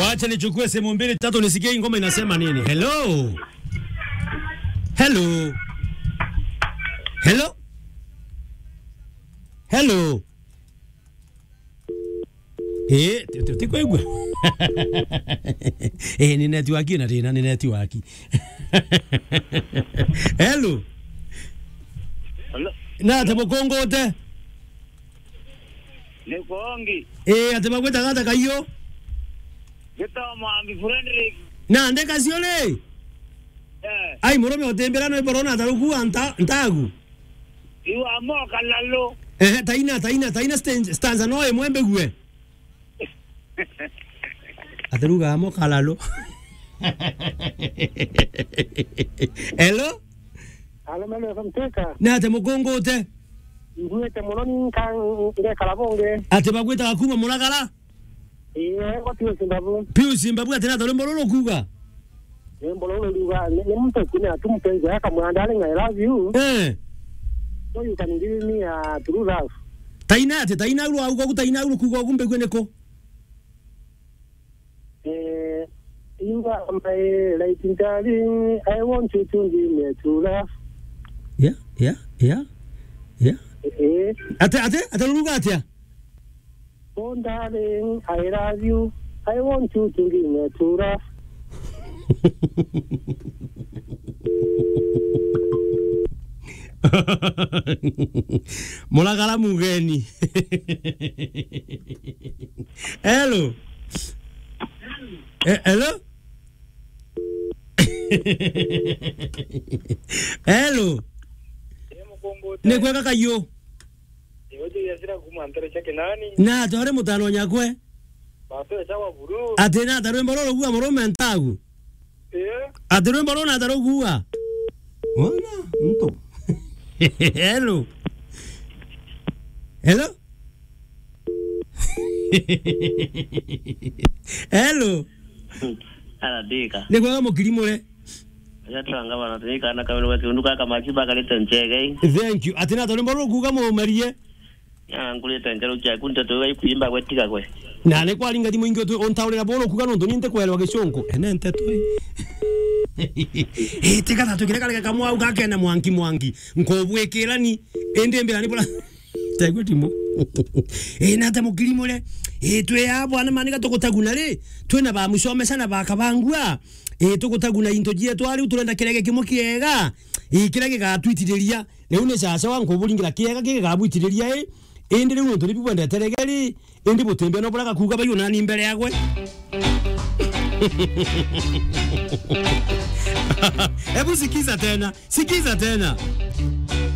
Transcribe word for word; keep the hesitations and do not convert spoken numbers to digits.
Wacha nichukue simu mbili tatu nisikie hii ngoma inasema nini. Hello? Hello? Hello? Hello? Eh, ti, ti, ti kwaigua. Eh, ni network na thina, ni network. Hello. Hello. Na te mukungute. Ni kongi. Eh, ati bagwitaga ata kaiyo? Gitao Mwambi Frederick. Na ndeka cio ri? Eh. Ai, murume utimbira no iborona ataruku anta, ntagu. Iwa mo kalalo. Eh, taina, taina, taina sten-, stanza no imwe mbigue. Ataruga mo kalalo. Hello? Hello, mama, F M Teka. Na ate mukungute? Nguite muno ni nka-, ngekara bungi. Ati bagwitaga kuma Muragara? Ii, ngo Pius Mbabu. Pius Mbabu, ati nata rwimbo ruru kuuga? Rwimbo ruru ruga, ni, ni muntu kwina tu mpenzi yake akamwira, "Darling, I love you." Eh. So you can give me a true love. Taina ati, taina uru auga ku, taina uru kuuga ku mbigue niku? Eh, you are my light, darling. I want you to give me a true love. Yeah, yeah, yeah, yeah. Eh, eh. Ate, ate, ate ruga atia? Oh, darling, I love you. I want you to give me a true love. Muragara mugeni. Hello. Eh, hello? Hello. Ni kwega kayo? Iwe Jeyasira kuma Ntere cia Kinani. Na twari mutano nyakwe. Batwe chawa buru. Ati nata rwimbo ruru kuuga murume ntagu? Eh? Ati rwimbo ruru nata rukuuga? Ona, nto. Hello. Hello? Hello. Aradika. Ni kwega mukiri mure? Yatanga bana, tuikana kamwe gwe kiundu kaka makiba karite nchegei. Thank you. Ati nata rwimbo ruru kuuga mumarie? Ah, ngurite ncheru ciaku, nteto iga ikuimba gwe tiga gwe. Na ni kwaringa thimu ingi utu-, untaurira buru kuuga nontu ni ntikwerwa gicunku. Ene nteto i. Eh, tiga tatu kire kare kamwau gakene mwangi mwangi. Nkubwikira ni, indi mbira ni bura. Tegwe timu. Eh, nata mukiri mure? Eh, twi a bwana mani ga tugutaguna ri? Twina ba mucomesha na ba kabangua. Eh, tugutaguna into cietu, a riu turenda kirege kimwe kiega. Eh, kiria gigatwitiriria. Riu ni caca wa nkuburingira kiega gigabwitiriria i, indi riu nontu ni bibwendete regeri, indi butimbia no buria gakuuga baiyo nani mbere yagwe. Ebu sikiza tena, sikiza tena.